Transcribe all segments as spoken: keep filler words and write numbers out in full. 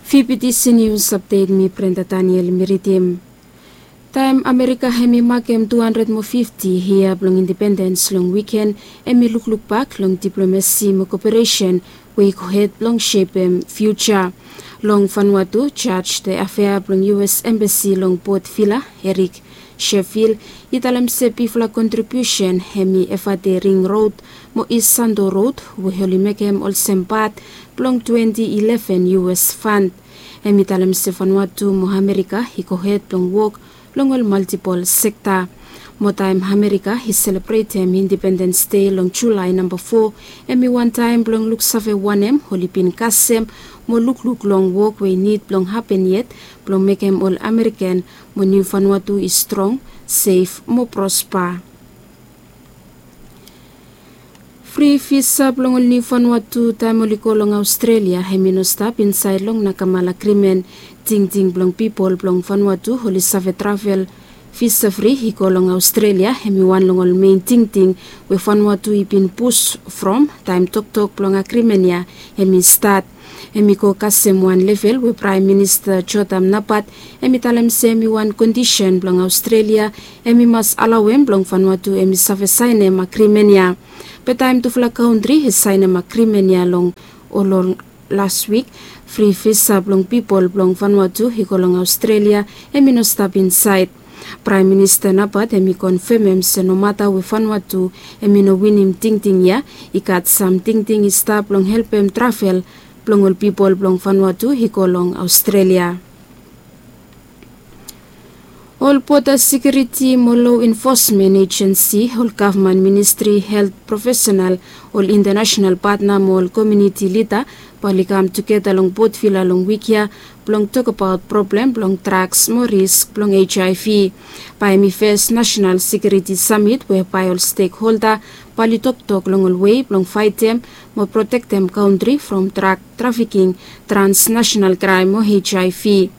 Fifty Senius Update, mi Brenda Daniel mi ridim. Taem Amerika hemi makem tu handred mo fifti yia blong independens long wiken, hemi lukluk bak long diplomasi mo koperesen we i gohed blong sepem fiuja. Long Vanuatu, Judge de Afea blong U S Embassy long Port Vila, Eric Sheffield, i talem se bigfala kontribiusen hemi Efate Ring Rod mo East Santo Rod we oli mekem olsem pat blong twenti ileven U S fund. Hemi talem se Vanuatu mo Amerika i gohed blong wok long ol maltipol sekta. Mo taem Amerika i selebretem Independens Dei long Julae namba fo, hemi wantaem blong luksave wanem oli bin kasem mo lukluk long wok we i nid blong hapen yet blong mekem ol Amerikan mo Niu Vanuatu i strong, sef mo prospa. Fri visa blong ol Niu Vanuatu taem oli go long Aostrelia hemi no stap insaed long Nakamal Agrimen. Tingting blong pipol blong Vanuatu oli save travel visa fri i go long Aostrelia hemi wan long ol mein tingting we Vanuatu i bin pus from taem toktok blong agrimen ya hemi stat. Hemi go kasem wan level we Praem Minista Jotham Napat hemi talem se hemi wan kondisen blong Aostrelia hemi mas alaoem blong Vanuatu hemi save saenem agrimen ya. Be taem tufala kantri i saenem agrimen ya long ol ol las wik, fri visa blong pipol blong Vanuatu i go long Aostrelia hemi no stap insaed. Praem Minista Napat hemi konfemem se nomata we Vanuatu hemi no winim tingting ya, i gat sam tingting i stap blong helpem travel blong ol pipol blong Vanuatu i go long Aostrelia. Ol Boda Sekiuriti mo Lo Enfosmen Ejensi, ol gavman ministri, helt profesenal, ol intanasenal patna mo ol komuniti lida bae oli kam tugeta long Port Vila long wik ya blong tokbaot problem blong draks mo risk blong H I V. Bae hemi fes Nasenal Sekiuriti Samit we bae ol stekholda bae oli toktok long ol wei blong faetem mo protektem kantri from drak trafiking, transnasenal kraem mo H I V.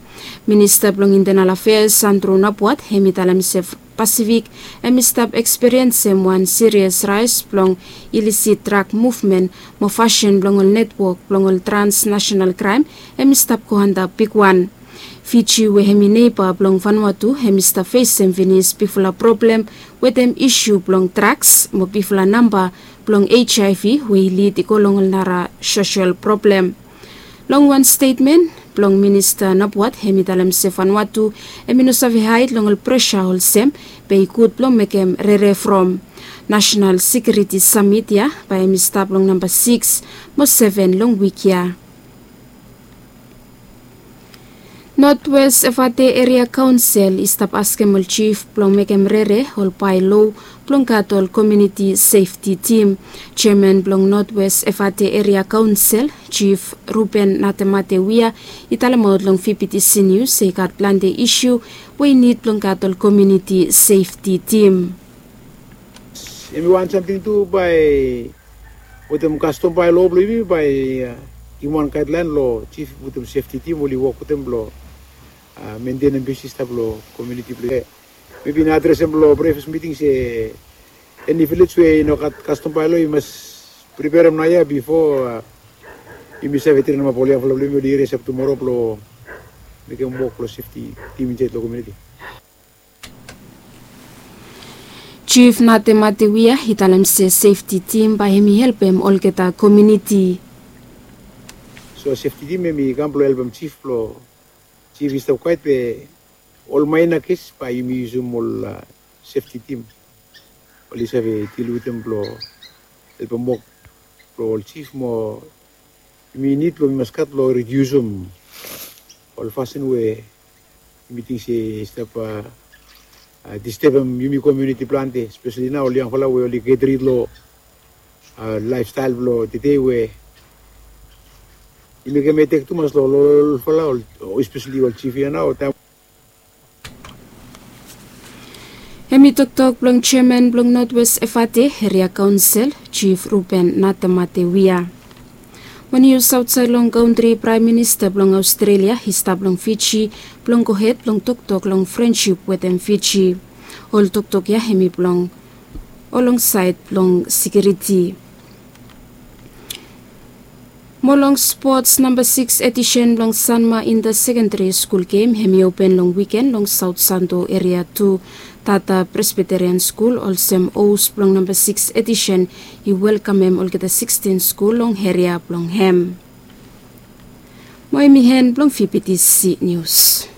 Minista blong Intenal Afeas Andrew Nabwat hemi talem se Pasifik hemi stap ekspiriensem wan sirias raes blong ilisit drak muvmen mo fasin blong ol netwok blong ol transnasenal kraem hemi stap go antap bigwan. Fiji we hemi neiba blong Vanuatu hemi stap fesem finis bigfala problem wetem isu blong draks mo bigfala namba blong H I V we i lid i go long ol nara sosel problem. Long wan stetmen blong Minista Nabwat hemi talem se Vanuatu hemi no save haed long ol presa olsem be i gud blong mekem rere from. Nasenal Sekiuriti Samit ya bae hemi stap long namba sikis mo seven long wik ya. Notwes Efate Eria Kaonsel i stap askem ol jif blong mekem rere ol baelo blong gat ol komuniti sefti tim. Jeaman blong Notwes Efate Eria Kaonsel, Jif Ruben Natemate Wia, i talemaot long V B T C Nius se i gat plante isu we i nid blong gat ol komuniti sefti tim. Hemi wan samting tu bae wetem kastom baelo blong yumi bae, a, givim wan gaedlaen long jif wetem sefti tim oli wok wetem blong, a, mentenem bisnis stap long komuniti blong yumi. Mi bin adresem long privas miting se eni vilej we i no gat kastom baelo i mas priperem naoia bifo, a, yumi save trenemap ol yangfala blong yumi oli resap tumoro blong mekem wok blong sefti tim insaed long komuniti. Jif Natemate Wia i talem se sefti tim bae hemi helpem olgeta komuniti. So sefti tim hemi kam blong helpem jif blong jif i stap kwaet be ol maena kes bae yumi yusum ol, a, sefti tim oli save dil wetem blong helpem wok blong ol jif mo yumi nid blong yumi mas gat blong ridiusum ol fasin we yumi ting se i stap, a, a, distebem yumi komuniti plante, speseli nao ol yangfala we oli get rid long, a, laefstael blong tede we i mekem etek tumas long ol olfala, ol, speseli ol jif ya nao taem Hemi toktok blong jeaman blong Notwes Efate Eria Kaonsel, Jif Ruben Natemate Wia. Mo nius aotsaed long kantri, Praem Minista blong Aostrelia i stap long Fiji blong gohed blong toktok long frensip wetem Fiji. Ol toktok ya hemi blong olongsaed blong sekiriti. Mo long spots namba sikis edisen blong sanma inta sekendari skul gem hem i open long wiken long saut santo eria tu tata presbiterian skul olsem os blong namba sikis edisen i welkamem olgeta sikstin skul long eria blong hem. Mo hem i hen blong fibitisi nius.